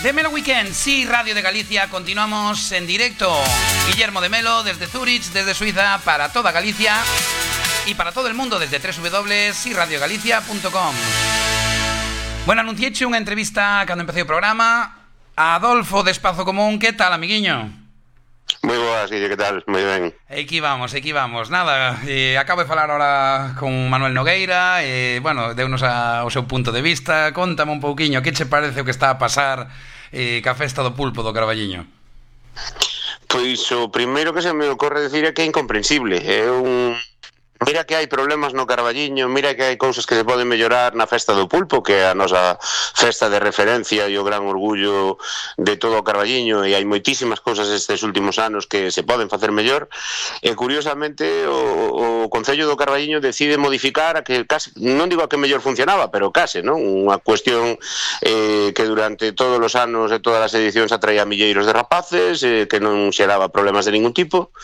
Melo Weekend, sí, Radio de Galicia, continuamos en directo. Guillermo de Melo desde Zurich, desde Suiza, para toda Galicia y para todo el mundo desde www.siradiogalicia.com. Bueno, anunciéche unha entrevista cando empecé o programa a Adolfo de Espazo Común. Que tal, amiguiño? Moi boas, Guille, que tal? Moi ben. Aquí vamos. Nada, acabo de falar ahora con Manuel Nogueira, bueno, deunos o seu punto de vista. Contame un pouquiño, que che parece o que está a pasar ca festa do pulpo do Carballiño? Pois o primeiro que se me ocorre decir é que é incomprensible. Mira que hai problemas no Carballiño, mira que hai cousas que se poden mellorar na festa do pulpo, que é a nosa festa de referencia e o gran orgullo de todo o Carballiño, e hai moitísimas cousas estes últimos anos que se poden facer mellor, e curiosamente o Concello do Carballiño decide modificar a que case, non digo a que mellor funcionaba, pero case, non? Unha cuestión que durante todos os anos e todas as edicións atraía milleiros de rapaces, que non xeraba problemas de ningún tipo,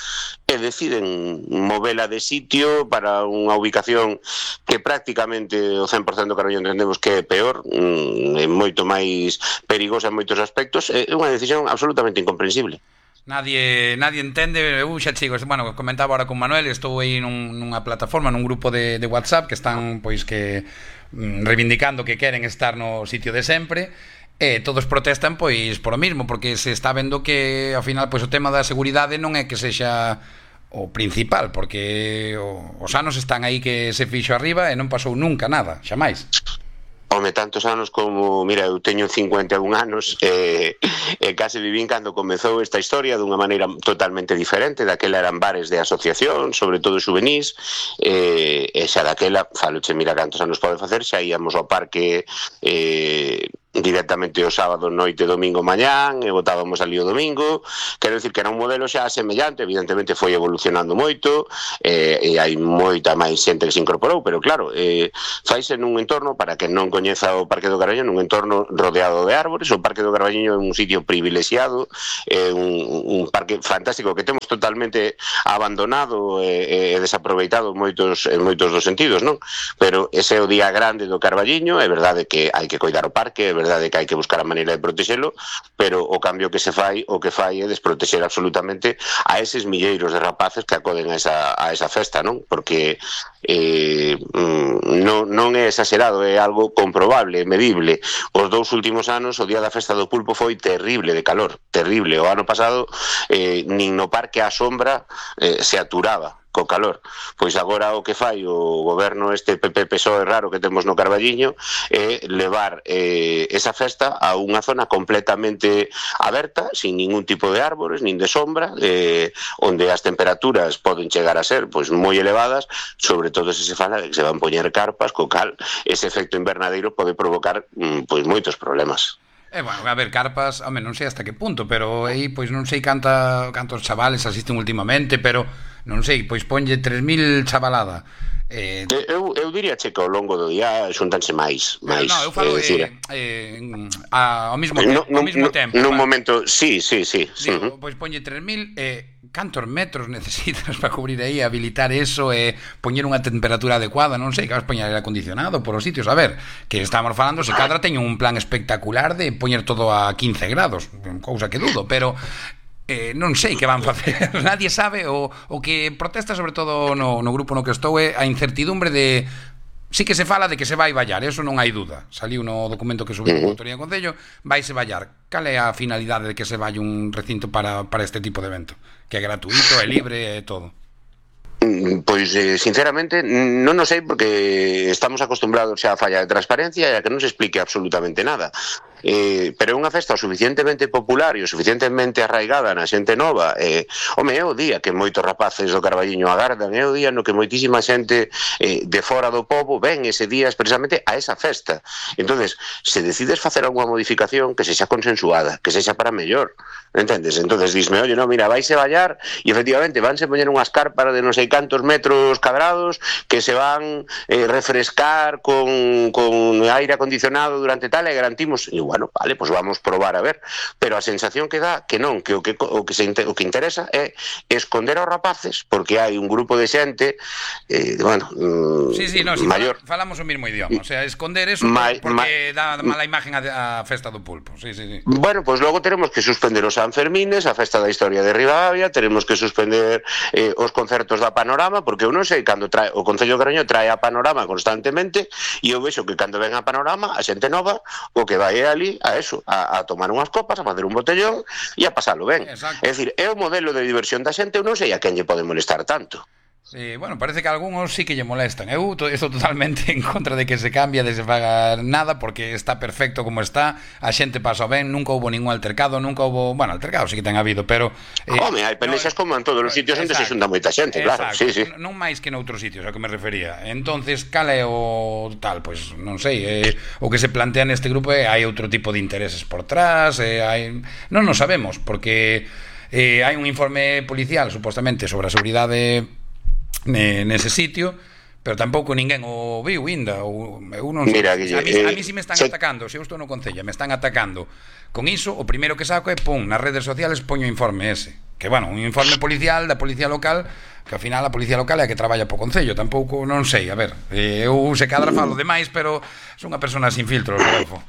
e deciden movela de sitio para unha ubicación que prácticamente o 100% do Carballiño entendemos que é peor, é moito máis perigosa en moitos aspectos. É unha decisión absolutamente incomprensible. Nadie entende. Xa chicos, bueno, comentaba ahora con Manuel, estou aí nunha plataforma, nun grupo de WhatsApp que están pois que reivindicando que queren estar no sitio de sempre. E todos protestan pois por o mismo, porque se está vendo que ao final pois o tema da seguridade non é que sexa o principal, porque os anos están aí que se fixo arriba e non pasou nunca nada, xamais. Home, tantos anos como, mira, eu teño 51 anos e case vivín cando comezou esta historia dunha maneira totalmente diferente. Daquela eran bares de asociación, sobre todo xuvenís, e xa daquela, faloche, mira cantos anos pode facer, xa íamos ao parque directamente o sábado noite, domingo mañán, e botábamos ali o domingo. Quero dicir que era un modelo xa semellante, evidentemente foi evolucionando moito, e hai moita máis xente que se incorporou, pero claro, faise nun entorno, para que non coñeza o Parque do Carballiño, nun entorno rodeado de árbores. O Parque do Carballiño é un sitio privilexiado, é un parque fantástico que temos totalmente abandonado e desaproveitado en moitos dos sentidos, non? Pero ese é o día grande do Carballiño. É verdade que hai que coidar o parque, é verdade que hai que buscar a maneira de protexelo, pero o cambio que se fai, o que fai é desprotexer absolutamente a eses milleiros de rapaces que acoden a esa festa, non? Porque non é exagerado, é algo comprobable, medible. Os 2 últimos anos o día da festa do pulpo foi terrible de calor, terrible. O ano pasado nin no parque á sombra se aturaba co calor. Pois agora o que fai o goberno este PP-PSOE raro que temos no Carballiño é levar esa festa a unha zona completamente aberta, sin ningún tipo de árbores, nin de sombra, onde as temperaturas poden chegar a ser pois moi elevadas, sobre todo se fala de que se van poñer carpas, co cal ese efecto invernadeiro pode provocar pois moitos problemas. Bueno, a ver, carpas, home, non sei hasta que punto, pero aí, pois non sei cantos chavales asisten últimamente, pero non sei, pois ponlle 3.000 chavalada. Eu diría che que ao longo do día xuntanse máis. Non, eu falo ao mesmo tempo. Nun momento, sí. Digo, pois ponlle 3.000, cantos metros necesitas para cubrir aí, habilitar eso e poñer unha temperatura adecuada, non sei, que vas poñer aire acondicionado por os sitios. A ver, que estamos falando, se cadra teño un plan espectacular de poñer todo a 15 grados, cousa que dudo, pero non sei que van facer. Nadie sabe. O que protesta sobre todo no grupo no que estou é a incertidumbre de... Sí que se fala de que se vai vallar, eso non hai duda. Saliu no documento que subiu a Autoridade do Concello, vaise vallar. Cal é a finalidade de que se valle un recinto para este tipo de evento? Que é gratuito, é libre, é todo. Pois, sinceramente, non o sei, porque estamos acostumbrados xa a falla de transparencia e a que non se explique absolutamente nada. Pero é unha festa o suficientemente popular e o suficientemente arraigada na xente nova. Home, é o día que moitos rapaces do Carballiño agardan, é o día no que moitísima xente de fora do pobo ven ese día expresamente a esa festa. Entonces, se decides facer alguna modificación que sexa consensuada, que sexa para mellor, entendes? Entonces disme, oye, no, mira, vaise vallar e efectivamente vanse poñer unhas carpas de non sei cantos metros cadrados que se van refrescar con aire acondicionado durante tal, e garantimos igual. bueno, vale, pois vamos probar a ver, pero a sensación que dá que non, que o que interesa é esconder aos rapaces, porque hai un grupo de xente bueno, Sí, no, si maior falamos o mismo idioma, o sea, esconder eso porque dá mala imagen a festa do pulpo. Sí. Bueno, pois logo teremos que suspender os Sanfermines, a festa da historia de Ribadavia, teremos que suspender os concertos da Panorama, porque eu non sei cando o Concello de Carballiño trae a Panorama constantemente, e eu vexo que cando ven a Panorama, a xente nova o que vai é ali a eso, a tomar unhas copas, a facer un botellón e a pasalo ben. É dicir, é o modelo de diversión da xente, eu non sei a quen lle pode molestar tanto. Sí, bueno, parece que a algúns sí que lle molestan. Eu estou totalmente en contra de que se cambie, de se faga nada, porque está perfecto como está, a xente pasa ben, nunca houbo ningún altercado, bueno, altercado sí que ten habido, pero... Home, hai pelexas como en todos os sitios onde se xunta moita xente, claro, sí. Non máis que noutros sitios, ao que me refería. Entonces, cal é o tal? Pois non sei, o que se plantea neste grupo é hai outro tipo de intereses por trás, non nos sabemos, porque hai un informe policial, supostamente, sobre a seguridade nese sitio, pero tampouco ninguén o viu ainda. Eu non sei. Mira, a mí si me están atacando, se eu estou no Concello, me están atacando con iso, o primeiro que saco é nas redes sociales poño o informe ese, que bueno, un informe policial da policía local, que ao final a policía local é a que traballa po Concello, tampouco, non sei, a ver, eu se cadra falo demais, pero son unha persona sin filtros, Rodolfo.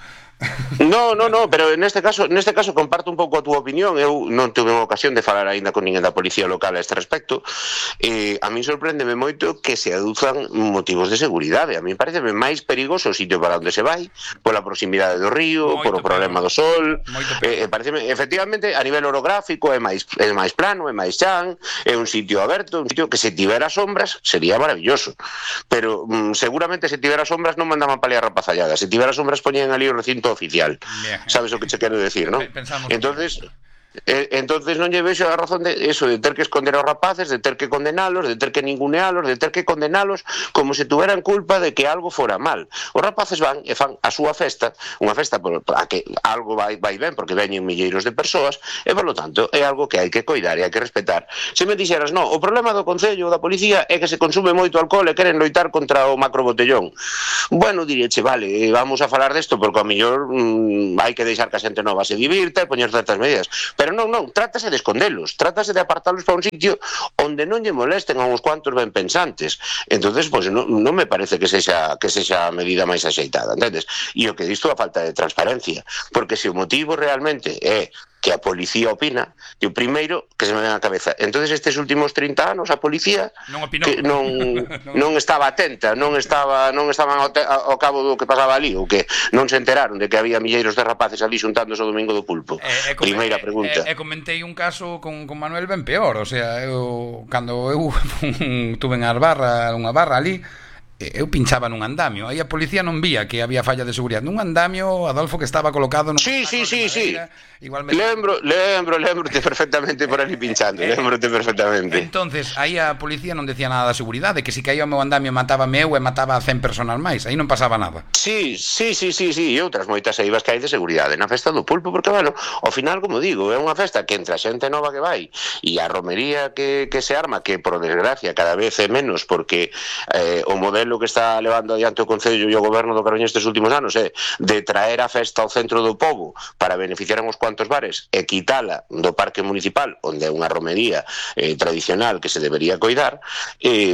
No, pero neste caso comparto un pouco a túa opinión. Eu non tuve unha ocasión de falar aínda con ninguén da policía local a este respecto. A mí sorpréndeme moito que se aduzan motivos de seguridade. A mí pareceme máis perigoso o sitio para onde se vai, pola proximidade do río, por o problema do sol. Pareceme, efectivamente, a nivel orográfico é máis plano, é máis chan, é un sitio aberto, un sitio que se tivera sombras sería maravilloso. Pero seguramente se tivera sombras non mandaban paliar rapazalladas. Se tivera sombras poñían ali o recinto oficial. Sabes o que che quero decir, non? Entonces non lle vexo a razón de eso, de ter que esconder aos rapaces, de ter que condenalos, de ter que ningunealos, de ter que condenalos como se tuveran culpa de que algo fora mal. Os rapaces van e fan a súa festa, unha festa a que algo vai ben, porque veñen milleiros de persoas, e polo tanto é algo que hai que coidar e hai que respetar. Se me dixeras, no, o problema do Concello ou da Policía é que se consume moito alcohol e queren loitar contra o macrobotellón. Bueno, diríache, vale, vamos a falar desto porque ao mellor hai que deixar que a xente nova se divirta e poñer certas medidas. Pero non, trátase de escondelos, trátase de apartalos para un sitio onde non lle molesten a uns cuantos ben pensantes. Entonces, pois non me parece que sexa a medida máis axeitada, entendes? E o que disto a falta de transparencia, porque se o motivo realmente é que a policía opina, o primeiro que se me ven á cabeza. Entonces estes últimos 30 anos a policía non estaba atenta, non estaban ao cabo do que pasaba ali, ou que non se enteraron de que había milleiros de rapaces ali xuntándose o domingo do pulpo. Primeira pregunta. Comentei un caso con Manuel ben peor, o sea, cando eu tuve unha barra ali, eu pinchaba nun andamio, aí a policía non vía que había falla de seguridade nun andamio, Adolfo, que estaba colocado nun... Sí. Lembrote perfectamente por ali pinchando, lembrote perfectamente. Entonces, aí a policía non decía nada da seguridade, que se caía o meu andamio matábame eu e mataba a 100 personas máis, aí non pasaba nada. Sí, e outras moitas eivas que hai de seguridade na festa do pulpo, porque, bueno, ao final, como digo, é unha festa que entre a xente nova que vai e a romería que se arma, que, por desgracia, cada vez é menos, porque o modelo que está levando adiante o Concello e o Goberno do Carballiño estes últimos anos é de traer a festa ao centro do pobo para beneficiar a uns cuantos bares e quitala do parque municipal, onde é unha romería tradicional que se debería coidar,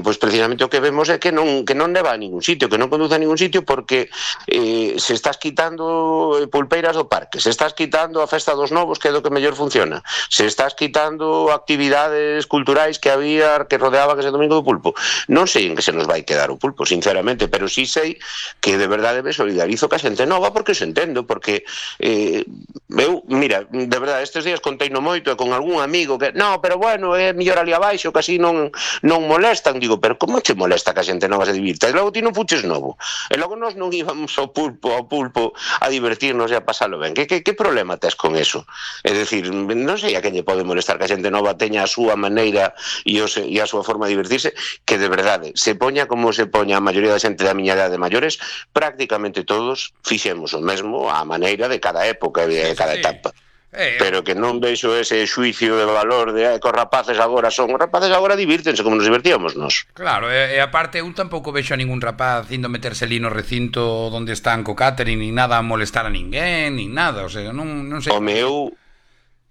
pois precisamente o que vemos é que non leva a ningún sitio, que non conduce a ningún sitio, porque se estás quitando pulpeiras do parque, se estás quitando a festa dos novos, que é do que mellor funciona, se estás quitando actividades culturais que había, que rodeaban ese domingo do pulpo, non sei en que se nos vai quedar o pulpo, sinceramente, pero sí sei que de verdade me solidarizo ca xente nova, porque os entendo, porque eu, mira, de verdade, estes días conteino moito e con algún amigo que, no, pero bueno, é mellor ali abaixo, que así non molestan, digo, pero como te molesta que a xente nova se divirta? E logo ti non fuches novo, e logo nós non íbamos ao pulpo a divertirnos e a pasalo ben. Que problema tes con eso? É dicir, non sei a quen lle pode molestar que a xente nova teña a súa maneira e a súa forma de divertirse, que de verdade, se poña como se poña a maioría da xente da miña idade de maiores, prácticamente todos fixemos o mesmo á maneira de cada época e de cada etapa. pero que non vexo ese xuicio de valor de que os rapaces agora divírtense como nos divertíamos nos. Claro, e aparte eu tampouco vexo a ningún rapaz indo meterse ali no recinto onde están co catering, ni nada a molestar a ninguén, ni nada, o sea, non sei. Home,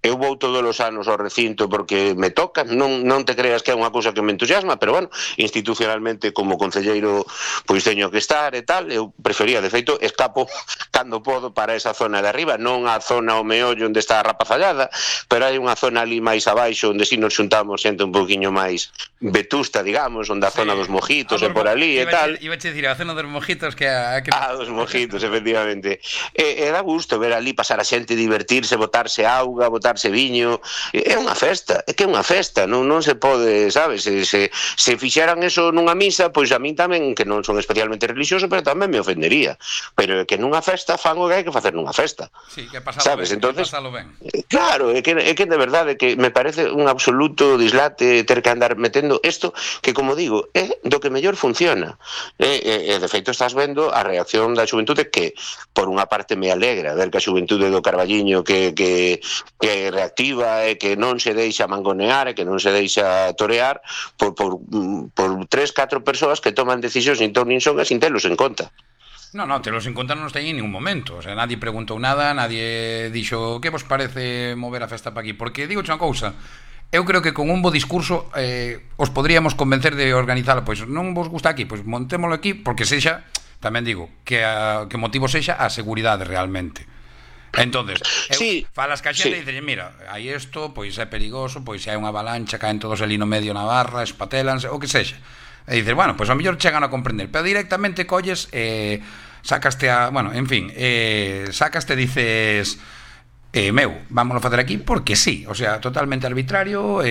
eu vou todos os anos ao recinto porque me toca, non te creas que é unha cousa que me entusiasma, pero bueno, institucionalmente como concelleiro pois teño que estar e tal, eu prefería, de feito, escapo cando podo para esa zona de arriba, non a zona ao meollo onde está a rapazallada, pero hai unha zona ali máis abaixo onde si nos xuntamos xente un poquinho máis vetusta, digamos, onde a zona dos mojitos e por ali e tal. Iba a dicir, a zona dos mojitos que... dos mojitos, efectivamente. E dá gusto ver ali pasar a xente, divertirse, botarse auga, botarse viño, é unha festa, é que é unha festa, non se pode, sabes, se fixeran eso nunha misa, pois a min tamén, que non son especialmente religioso, pero tamén me ofendería, pero é que nunha festa fan o que hai que facer nunha festa. Sí, que pasalo ben, entonces, ben. Claro, é que de verdade que me parece un absoluto dislate ter que andar metendo isto, que como digo, é do que mellor funciona, e de feito estás vendo a reacción da xuventude que, por unha parte me alegra ver que a xuventude do Carballiño que reactiva e que non se deixa mangonear e que non se deixa torear por 3-4 persoas que toman decisións nin ton nin son e sin telos en conta. No, telos en conta non os teñen en ningún momento. O sea, nadie preguntou nada, nadie dixo que vos parece mover a festa para aquí. Porque, digo unha cousa, eu creo que con un bo discurso os podríamos convencer de organizalo. Pois non vos gusta aquí, pois montémolo aquí, porque sexa, tamén digo, que motivo sexa a seguridade realmente. Entonces, falas ca xente e dices, mira, hai isto, pois é perigoso, pois se hai unha avalancha, caen todos ali no medio na barra, espatelanse, o que sexa. E dices, bueno, pois ao mellor chegan a comprender, pero directamente colles, sacaste sacaste, dices, vámonos a facer aquí porque sí, o sea, totalmente arbitrario,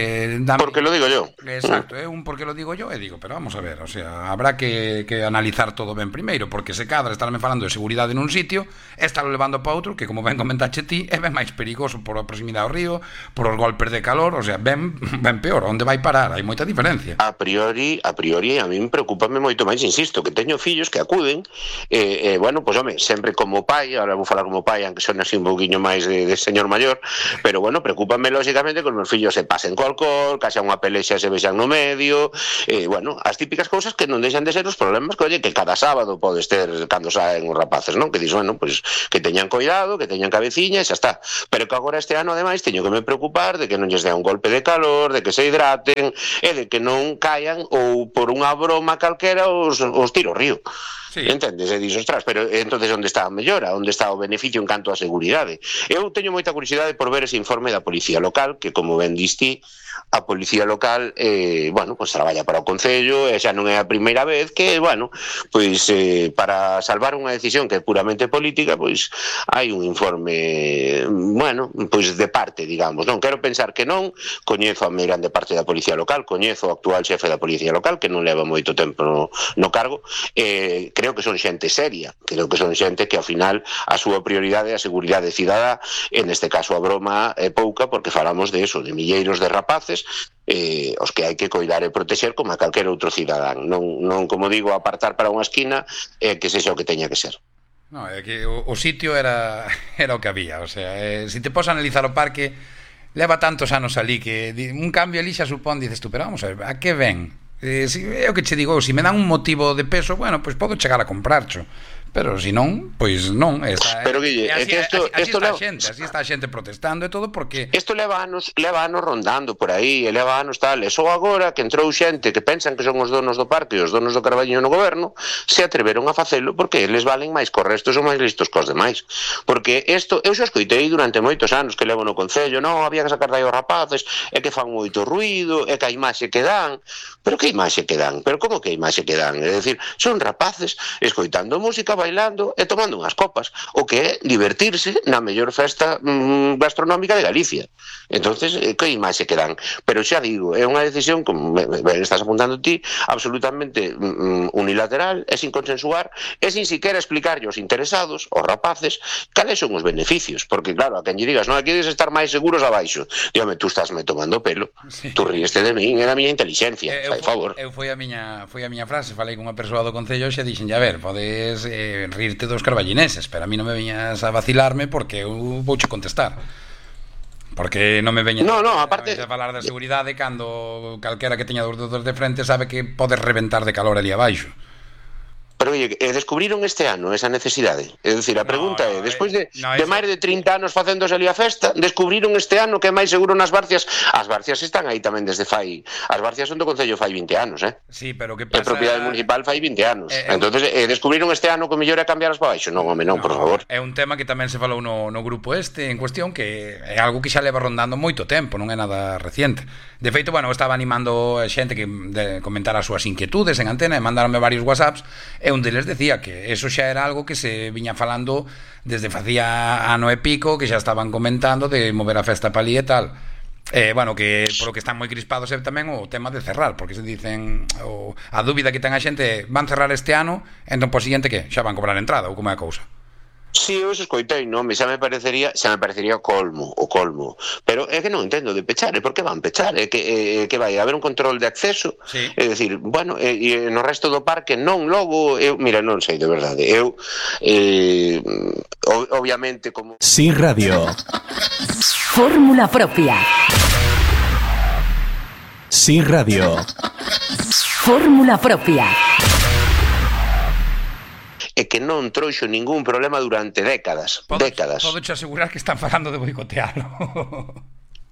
porque lo digo yo. Exacto, porque lo digo yo, e digo, pero vamos a ver, o sea, habrá que analizar todo ben primeiro, porque se cadra estarme falando de seguridade nun sitio, estarlo levando para outro, que como ben comentache ti, é ben máis perigoso por a proximidade ao río, por os golpes de calor, o sea, ben peor, onde vai parar, hai moita diferencia. A priori, a min preocúpame moito máis, insisto, que teño fillos que acuden, bueno, pois home, sempre como pai, ahora vou falar como pai, aunque son así un pouquiño máis de señor maior, pero bueno, preocúpame lógicamente que os meus fillos se pasen co alcohol, que xa unha pelexa se vexan no medio, bueno, as típicas cousas que non deixan de ser os problemas que, oye, que cada sábado podes ter cando saen os rapaces, non? Que dis, bueno, pues que teñan cuidado, que teñan cabeciña e xa está. Pero que agora este ano, ademais, teño que me preocupar de que non lles dea un golpe de calor, de que se hidraten e de que non caian ou por unha broma calquera os tiro ao río. Sí. Entendes? E dixo, ostras, pero entonces onde está a mellora? Onde está o beneficio en canto a seguridade? Eu teño moita curiosidade por ver ese informe da Policía Local, que como ben diste, a Policía Local, bueno, pues traballa para o Concello, e xa non é a primeira vez que, bueno, pois para salvar unha decisión que é puramente política, pois hai un informe, bueno, pois de parte, digamos, non? Quero pensar que non, coñezo a meirande parte da Policía Local, coñezo o actual xefe da Policía Local, que non leva moito tempo no cargo, creo que son xente seria, creo que son xente que ao final a súa prioridade é a seguridade cidadá, en este caso a broma é pouca porque falamos de eso, de milleiros de rapaces os que hai que coidar e protexer como a calquer outro cidadán, non como digo, apartar para unha esquina que sexa o que teña que ser. No, é que o sitio era o que había, o sea, se te pos analizar o parque, leva tantos anos ali que un cambio ali xa supón, dices tú, pero vamos a ver, a que ven? É o que che digo, se me dan un motivo de peso, bueno, pois podo chegar a comprarcho, pero se non, pois non. Pero Guille, así está a xente protestando e todo porque isto leva anos rondando por aí, e leva anos tal, e só agora que entrou xente que pensan que son os donos do parque e os donos do Carballiño no goberno, se atreveron a facelo porque eles valen máis cos restos ou máis listos cos demais. Porque isto, eu xa escoitei durante moitos anos que levo no Concello, non, había que sacar dai os rapaces, é que fan moito ruido, é que a imaxe que dan, pero que imaxe que dan? Pero como que imaxe que dan? É dicir, son rapaces escoitando música, bailando e tomando unhas copas, o que é divertirse na mellor festa gastronómica de Galicia. Entonces, que imaxe que dan? Pero xa digo, é unha decisión, como ben estás apuntando ti, absolutamente unilateral e sin consensuar e sin siquiera explicarlle aos interesados, aos rapaces, cales son os beneficios, porque claro, a quen lle digas, non, aquí dedes estar máis seguros abaixo, dígame, tú estás me tomando pelo, sí. Tú ríeste de min, é da miña inteligencia, fai favor. Foi a miña frase, falei con unha persoa do Concello e xa dixen, a ver, podes rirte dos carballineses, pero a mí non me viñas a vacilarme porque eu vouche contestar. Porque non me veña aparte a falar da seguridade cando calquera que teña dos dedos de frente sabe que pode reventar de calor ali abaixo. Pero, oye, descubriron este ano esa necesidade? É dicir, a pregunta é, despois de máis de 30 anos facéndose ali a festa, descubriron este ano que é máis seguro nas Barcias? As Barcias están aí tamén desde fai... As Barcias son do Concello fai 20 anos, Sí, pero que pasa... É propiedade municipal fai 20 anos. Entonces, descubriron este ano que o mellor é cambiarlas para baixo? Non, home, non, por favor. É un tema que tamén se falou no grupo en cuestión, que é algo que xa leva rondando moito tempo, non é nada reciente. De feito, bueno, estaba animando a xente que comentara as súas inquietudes en antena e mandaronme varios whatsapps, e un deles decía que eso xa era algo que se viña falando desde facía ano e pico, que xa estaban comentando de mover a festa pa ali e tal. Bueno, que polo que están moi crispados é tamén o tema de cerrar, porque se dicen a dúbida que ten a xente, van cerrar este ano, entón por seguinte que xa van cobrar entrada, ou como é a cousa? Si, eu escoitei, non, xa me parecería o colmo, pero é que non entendo de pechar, por que van pechar? É que vai haber un control de acceso, sí. É dicir, bueno, e no resto do parque non, logo, mira, non sei de verdade, obviamente como... Sí Radio. Fórmula propia. Sí Radio. Fórmula propia. E que non trouxo ningún problema durante décadas. Podo te asegurar que están falando de boicotealo.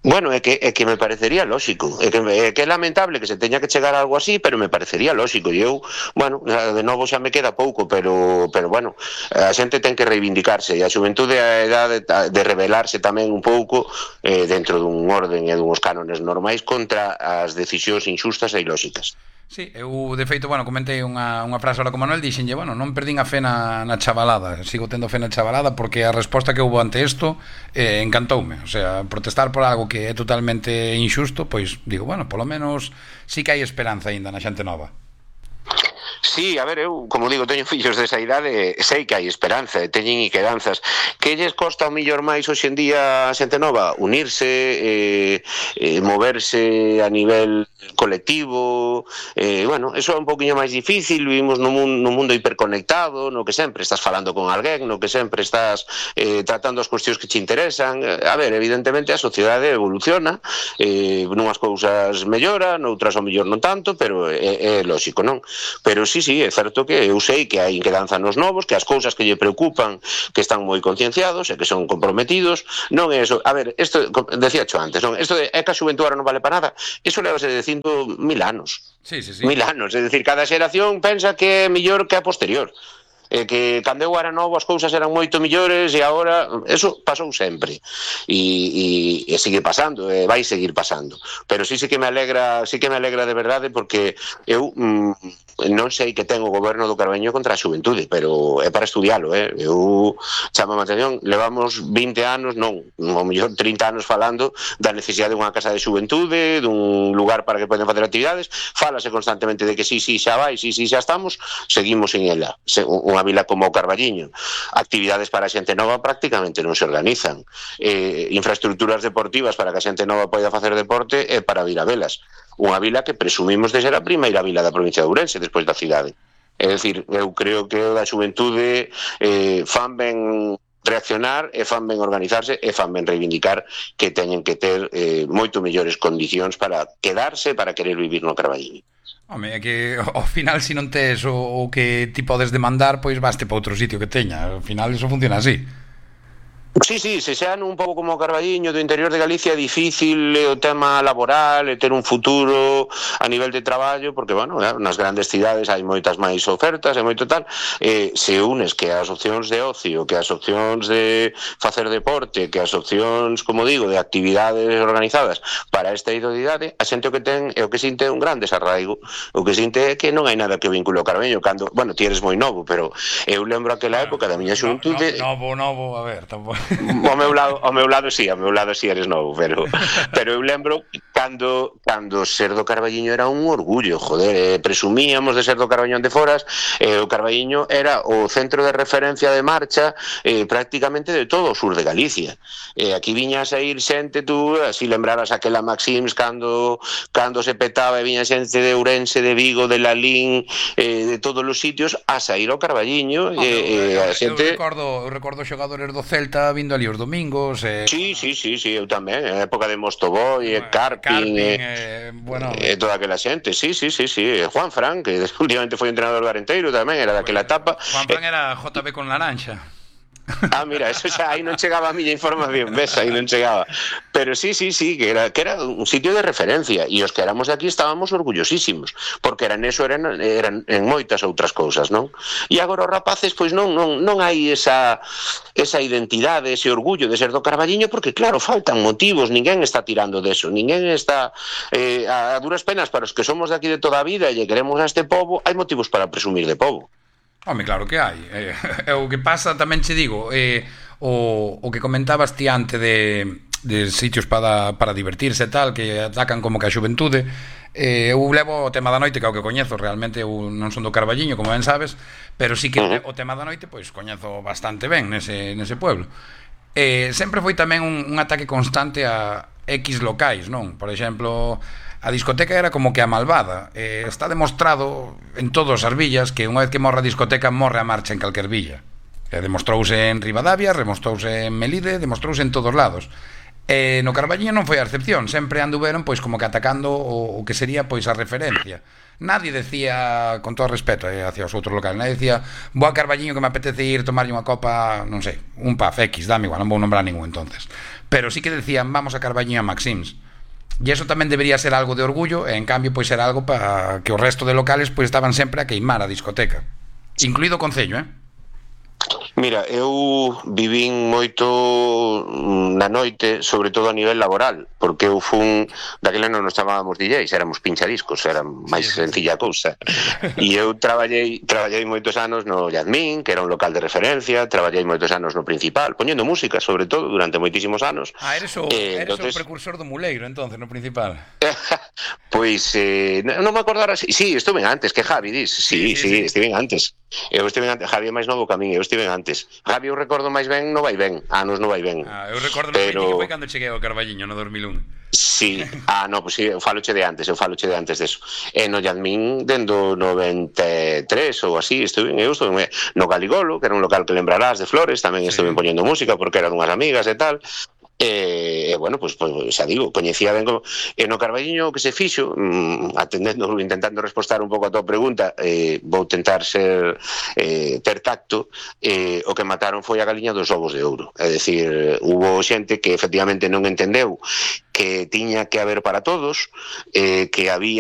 Bueno, é que me parecería lógico, é que é lamentable que se teña que chegar a algo así, pero me parecería lógico, e eu, bueno, de novo xa me queda pouco, pero bueno, a xente ten que reivindicarse, e a xuventude a edade de rebelarse tamén un pouco dentro dun orden e dunhos cánones normais contra as decisións inxustas e ilóxicas. Sí, eu de feito, bueno, comentei unha frase ahora con Manuel, dixenlle, bueno, non perdín a fe na chavalada, sigo tendo fe na chavalada porque a resposta que houve ante isto encantoume, o sea, protestar por algo que é totalmente inxusto, pois digo, bueno, polo menos sí que hai esperanza aínda na xente nova. Sí, a ver, eu, como digo, teño fillos desa idade, sei que hai esperanza, teñen inquedanzas. Que lles costa o millor máis hoxe en día a xente nova? Unirse, moverse a nivel colectivo, bueno, eso é un poquinho máis difícil, vivimos nun mundo hiperconectado, no que sempre estás falando con alguén, no que sempre estás tratando as cuestións que te interesan. A ver, evidentemente a sociedade evoluciona, nunhas cousas mellora, noutras ao mellor non tanto, pero é lógico, non? Pero sí, é certo que eu sei que hai inquedanza nos novos, que as cousas que lle preocupan, que están moi concienciados e que son comprometidos, non é eso. A ver, isto, decía xo antes, non? Isto de que a xuventude non vale para nada, iso levase dicindo 1000 anos. Sí. 1000 anos, é dicir, cada xeración pensa que é mellor que a posterior. Que cando eu era novo as cousas eran moito millores e agora eso pasou sempre e sigue pasando, vai seguir pasando, pero sí que me alegra de verdade, porque eu non sei que ten o goberno do Carballiño contra a xuventude, pero é para estudialo, eu chamo a atención, levamos 20 anos, non, ao mellor 30 anos falando da necesidade dunha casa de xuventude, dun lugar para que poden facer actividades, fálase constantemente de que sí, xa vai, sí, xa estamos, seguimos en ela. Unha vila como o Carballiño, actividades para a xente nova prácticamente non se organizan, infraestructuras deportivas para que a xente nova poida facer deporte e para vir a velas. Unha vila que presumimos de ser a primeira vila da provincia de Ourense despois da cidade. É dicir, eu creo que a xuventude fan ben reaccionar e fan ben organizarse e fan ben reivindicar que teñen que ter moito mellores condicións para quedarse, para querer vivir no Carballiño. Home, é que ao final se non tes o que ti podes demandar, pois vaste para outro sitio que teña. Ao final iso funciona así. Sí, se xa un pouco como o Carballiño do interior de Galicia é difícil o tema laboral e ter un futuro a nivel de traballo, porque, bueno, nas grandes cidades hai moitas máis ofertas e moito tal, se unes que as opcións de ocio, que as opcións de facer deporte, que as opcións, como digo, de actividades organizadas para esta idade, a xente o que ten é o que sinte un gran desarraigo, o que sinte é que non hai nada que o vincule ao Carballiño, cando, bueno, ti eres moi novo, pero eu lembro aquela época da miña xuventude... Novo, a ver, tampouco... Ao meu lado sí eres novo, pero eu lembro cando ser do Carballiño era un orgullo, joder, presumíamos de ser do Carballiño de Foras, o Carballiño era o centro de referencia de marcha prácticamente de todo o sur de Galicia. Aquí viñas a ir xente, tú así lembrabas aquela Maxims cando se petaba e viña xente de Ourense, de Vigo, de Lalín, de todos os sitios a sair ao Carballiño. Eu recordo xogadores do Celta vindo ali os domingos. Sí, eu tamén, a época de Mostoboy, Carpin, bueno, toda aquela xente, sí, Juan Fran, que últimamente foi entrenador do Arenteiro tamén, era daquela etapa. Juan Fran era JB con Laranxa. Mira, eso xa aí non chegaba a miña información, ves, aí non chegaba. Pero sí, que era un sitio de referencia, e os que éramos de aquí estábamos orgullosísimos, porque eran en moitas outras cousas, non? E agora os rapaces, pois non hai esa identidade, ese orgullo de ser do Carballiño, porque claro, faltan motivos, ninguén está tirando deso, ninguén está a duras penas para os que somos de aquí de toda a vida e lle queremos a este pobo, hai motivos para presumir de pobo. Home, claro que hai. O que pasa, tamén che digo, o que comentabas ti antes de sitios para divertirse e tal, que atacan como que a xuventude. Eu levo o tema da noite, que é o que coñezo. Realmente eu non son do Carballiño, como ben sabes, pero sí que o tema da noite pois coñezo bastante ben nese pueblo. Sempre foi tamén un ataque constante a X locais, non? Por exemplo, a discoteca era como que a malvada. Está demostrado en todas as villas que unha vez que morre a discoteca, morre a marcha en calquer villa. Demostrouse en Ribadavia, demostrouse en Melide, demostrouse en todos lados. No Carballiño non foi a excepción. Sempre anduveron pois como que atacando o que sería pois a referencia. Nadie decía, con todo respeto hacia os outros locales, nadie decía, vou a Carballiño que me apetece ir tomarlle unha copa, non sei, un pub X, dame igual, non vou nombrar ningún entonces. Pero sí que decían, vamos a Carballiño a Maxims. E eso tamén debería ser algo de orgullo, e en cambio pois era algo para que o resto de locales pois estaban sempre a queimar a discoteca, incluído o Concello, Mira, eu vivín moito na noite, sobre todo a nivel laboral, porque eu fun, daquela non nos chamábamos DJs, éramos pinchadiscos, era máis sencilla a cousa. E eu traballei moitos anos no Yadmin, que era un local de referencia, traballei moitos anos no Principal, poñendo música, sobre todo, durante moitísimos anos. Eres o precursor do Muleiro, entonces, no Principal. Pois, non me acordara, sí, estuve antes, que Javi dis, sí, estive antes. Eu estive antes, Javi é máis novo que a min, eu estive antes. Javi eu recordo máis ben no Vai Ben, anos no Vai Ben. Eu recordo no que foi cando cheguei ao Carballiño no 2001. Sí, pois sí, eu faloche de antes deso. E no Yadmin dendo 93 ou así, estuve no Galigolo, que era un local que lembrarás de Flores, tamén estuve poñendo música porque era dunhas amigas e tal. Bueno, pois xa digo, coñecía ben como no Carballiño que se fixo, intentando respostar un pouco a tua pregunta, vou tentar ter tacto. O que mataron foi a galiña dos ovos de ouro, é dicir, hubo xente que efectivamente non entendeu que tiña que haber para todos, que había